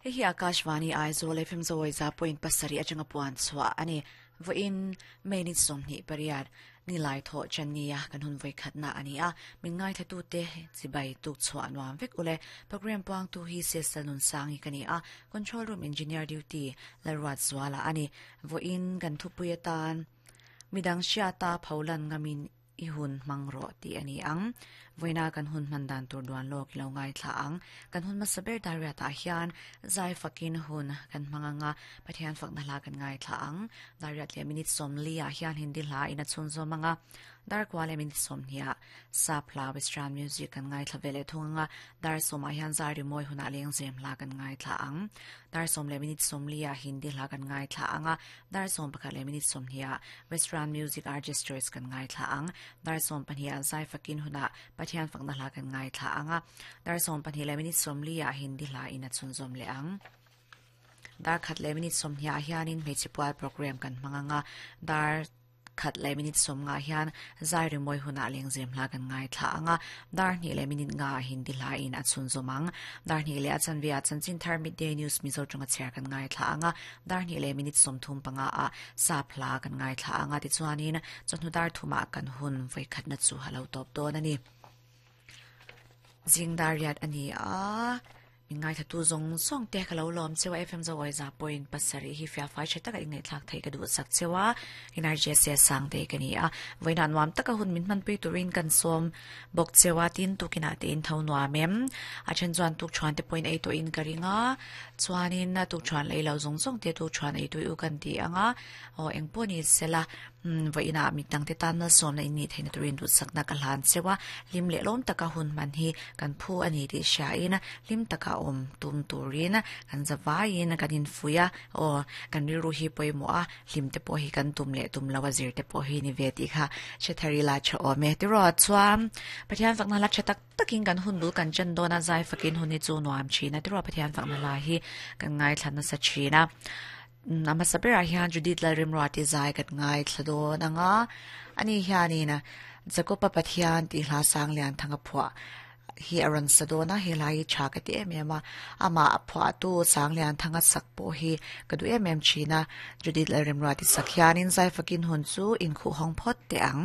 Hei hi Akashvani Aizawl FM zawi za point pasarih atanga puan chhuah a ni. Vawiin May ni 28 nilai thawh Chania kan hun vawi khatna a ni a, min ngaithlatute chibai tuk chhuah nuam vek ule. Program puangtu hi Sesal Nunsangi ka ni a, Control Room Engineer Duty Lalruat Zuala a ni. Vawiin kan thupui atan midang hriata pholan ngamin I hun hmang rawh tih a ni ang. Vawiina kan hun hman dan tur duan lawk i lo ngaithla ang. Kan hun hmasa ber Dariat-ah hian zai fakin hun kan hmang ang a, Pathian fakna hla kan ngaithla ang. Dariat leh minute sawmli ah hian Hindi hla in a chhunzawm ang a, dar kua leh minute sawmhnih ah Sap hla Western music kan ngaithla ve leh thung ang a, dar sawmah hian zai rimawi hunah lengzem hla kan ngaithla ang. Dar sawm leh minute sawmli ah Hindi hla kan ngaithla ang a, Dar 11 leh minute 20 ah Western Music Artist Choice kan ngaithla ang. Dar 12 ah Zai Fakin hunah Pathian fakna hla kan ngaithla ang a. Dar 12 leh minute 40 ah Hindi hla in a chhunzawm leh ang. Dar khat leh minute 20 ah hianin hmeichhe pual program kan hmang ang a. Dar khat leh minute 50 ah hian Zai rimawi hunah lengzem hla kan ngaithla ang a. Dar hnih leh minute nga ah Hindi hla in a chhunzawm ang. Dar hnih leh a chanve ah Chanchin Thar Midday News Mizo tawng a chhiar kan ngaithla ang a. Dar hnih leh minute 35 ah sap hla kan ngaithla ang a, tichuanin chawhnu dar thumah kan hun vawikhatna chu a lo tawp dawn a ni. Zing dar riat a ni a, min ngaithla tu zawng zawng te ka lo lawm cheu a, FM Zo Awiza point pasarih hi fiahfai tha taka inngaihthlak theih ka duh sak cheu a, NRJC Sangte ka ni a, vawiinah nuam taka hun min hmanpui turin kan sawm bawk cheu a, tin tukinah te in tho nuam em? A then chuan tukṭhuan te pawhin ei tawhin ka ring a, chuanin tukṭhuan lei lo zawng zawng te tukṭhuan ei tui u kan ti ang a, aw eng pawh ni sela vawiinah mi dangte tan malsawmna in nih theihna turin duhsakna ka hlan cheu a, hlim leh lawm taka hun hman hi kan phu a ni tih hriain hlim taka awm tum turin kan za vaiin kan infuih a, aw kan rilru hi pawimawh a. Hlim te pawh hi kan tum leh tum lo a zir te pawh hi ni ve tih kha hre thar ila tha awm e. Tiraw chuan Pathian fakna hla tha tak takin kan hun bul kan chen dawn a, zai fakin hun hi chu nuam thin a. Tiraw Pathian fakna hla hi kan ngaithla nasa thin a. A hmasa berah hian Judith Lalrimruati zai kan ngaithla dawn ang a. Ani hianin Jakoba Pathian tih hla sang lian thang a phuah. hi a rawn sa dawn a, helai hi tha ka ti em em a, amah a phuahtu Sanglianthanga sak pawh hi ka duh em em thin a, Judith Lalremruati sak hianin zai fakin hun chu inkhuh hawng phawt teh ang.